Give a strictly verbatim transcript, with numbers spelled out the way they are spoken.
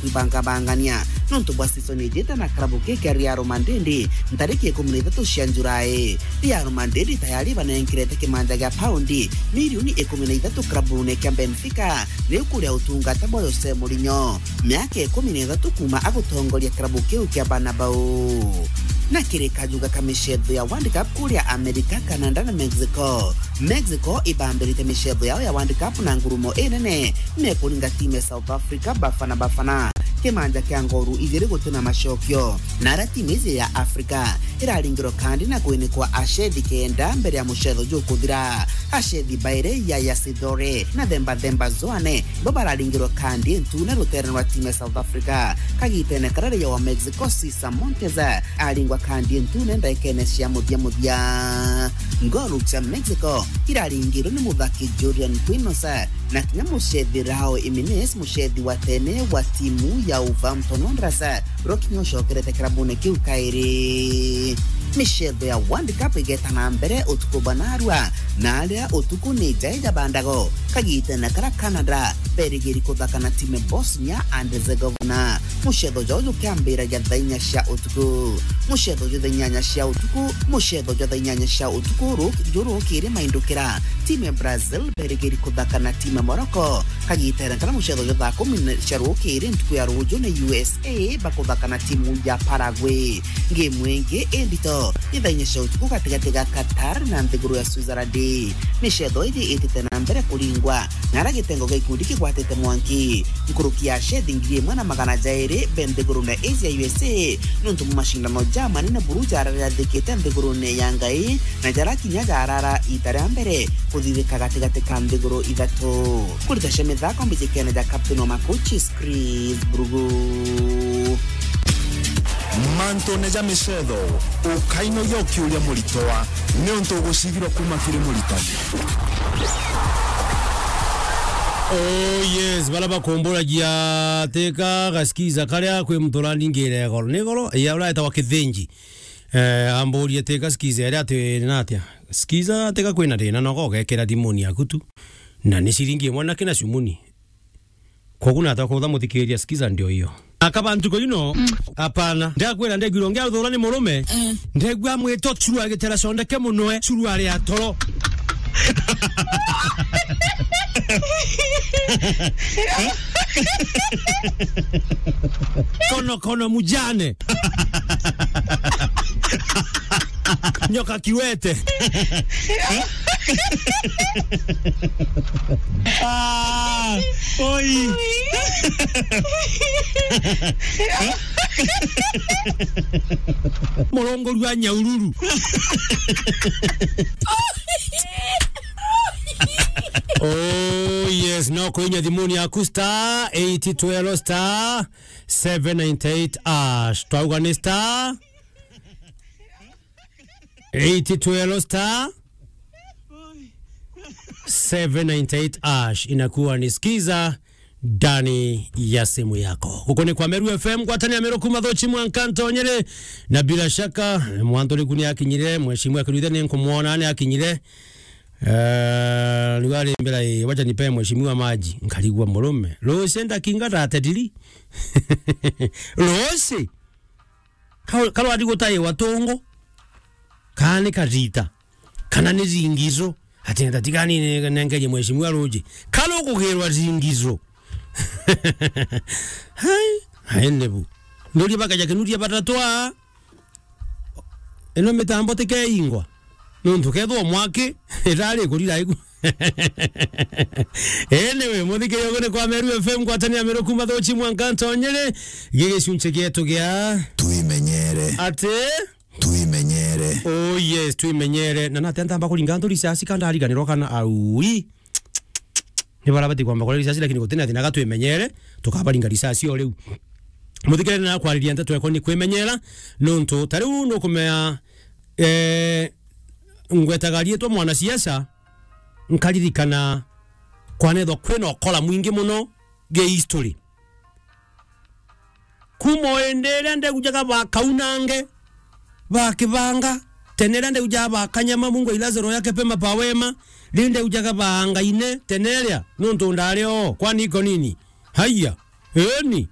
kwibangabangania nontu bwa season ijite na karabu kii kia Real Madrid ntariki ikumi na ithatu cia Julai. Real Madrid tayari ibanenkirete kimanja gia paundi milioni ikumi na ithatu karabune kia Benfica, riu kuria utungata bwa Jose Mourinho, miaka ikumi na ithatu kuuma agutongoria kirabu kiu kia Bernabeu. Na kiri kajuga ka micetho ya World Cup kuria America, Canada na Mexico. Mexico ibambirite micetho yao ya World Cup na ngurumo inene, mekuringa timu ya South Africa Bafana Bafana kimanja kia ngoru ijiri gutina macokio. Na aria timu iji ya Africa iraringirwa kandi na kwinikwa acethi kenda mbere ya mucetho jukuthira. Acethi bairi ya Yasidore na Themba Themba Zoane bo bararingirwa kandi ntune rutere rwa timu ya South Africa. Kagitene karia raia wa Mexico Cesar Montes aringwa kandi ntune ndaikene cia muthia muthia. Ngolu cia Mexico iraringirwe ni muthaki Julian Quinos na kinya mucethi Raul Jimenez, mucethi wa tene wa timu ya Wolverhampton Wanderers, ro kinya ucokerete kirabune kiu kairi. Micetho ya World Cup igeta na mbere utuku bwa narua, na aria utuku ni jai ja bandago, kagitene karia Canada berigiri kuthaka na timu Bosnia and Herzegovina. Mucetho juu jukiambiragia thaa inya cia utuku. Mucetho juu thaa inyanya cia utuku, mucetho juu thaa inyanya cia utuku ru-, juu rukiri maindukira, timu ya Brazil berigiri kuthaka na timu ya Morocco. Kagitene karia mucetho juu thaa kumi na cia rukiri ntuku ya ruju ni U S A bakuthaka na timu ya Paraguay. Ngemu ingi indito ni thaa inya cia utuku gatigati ga Qatar na nthiguru ya Switzerland. Micetho iji itite na mbere kuringwa, na aria gitengo gia ikundi kigwatite mwanki nkuruki ya acethi ngiri imwe na magana jairi be nthigurune iji ya U S A, nontu bwa macindano ja manene buru jararathikite nthigurune ya Ngai, na jaria kinya jarara ita ria mbere kuthithika gatigati ka nthiguru ithatu. Kurita cia mithako mbijikene ja captain wa Makuchis, Chris Brugu. Mantune ja micetho, ukainogia ukiuria muritwa, niuntu ugucigirwa kuma kiri muritani. Oh yes, bara bakumburagia teka gaskiza karia kwi muturaningi iregoro. Ni goro, ya ureta wa Kithinji. Eh, amburie teka skiza iria ati na atia. Skiza teka kwina thina, no gogekira thimuni yaku tu. Na ni ciringi imwe na kina cumuni. Kogu na atakutha muthikiria, skiza ndio hiyo. Akaba ntuko ino, hapana. Ndakwira ndegwirwo ngia uthura ni murume. Eh. Ndegwa mwito churu agitera sondeke muno e, churu ari atoro. Kono kono mujane. Nyoka kiwete. Ah, oi. Murongoru wa nyaururu. Oh yes, no kwinya thimuni yaku star eight twelve star seven ninety-eight hash. Twauga ni star eight twelve star seven ninety-eight hash, inakuwa ni skiza ndani ya simu yako. Guku ni kwa Meru F M, ngwatanio ya Meru kuma Thochi mwanka Ntonyere, na bila shaka mwantu riku ni akinyire, mheshimiwa Kiruithe ni nkumwona ni akinyire. Eh, riu ari mbira, eh, wacha nipe mheshimiwa maji, nkarigwa murume. Rose ndakinga thate diri. Rose. Ka-, karwari gutaiwa tungu, kana ni karita, kana ni ringizo, ati ntatigani nengerie mheshimiwa ruji, kana ukugirwa ringizo. Hai, hai nebu. Nduri bakaja kinuria batatwa. Ino mitambo tikeingwa. Nontu kethwa mwaki, irari kurira iku. Anyway, muthikiria ugu ni kwa Meru F M, ngwatanio ya Meru kuma Thochi mwanka Ntonyere, gigicunchi gietu gia Twimenyere. Ati? Twimenyere. Oh yes, twimenyere. Na nate ntamba kuringa ntu risasi ka ndariganirwa kana aui. Ni bara bati kwamba kuria risasi, lakini gutina thina, ga twimenyere, tukabaringa risasi o riu. Muthikiria na kwariria nteto eko ni kwimenyera, nontu ta riu nukumea, eh, ngwetaga riitwa mwanasiasa, nkaririkana kwanethwa kwina ukora mwingi muno gi history. Kuma o indi iria ndegu jaga bakaunange, bakibanga, tene iria ndegu jaga bakanyama, Mungu ailaze roho yake pema pa wema, ri ndegu jaga baangaine, tene iria, nontu ndari o, kwani iko nini? Haiya, eni,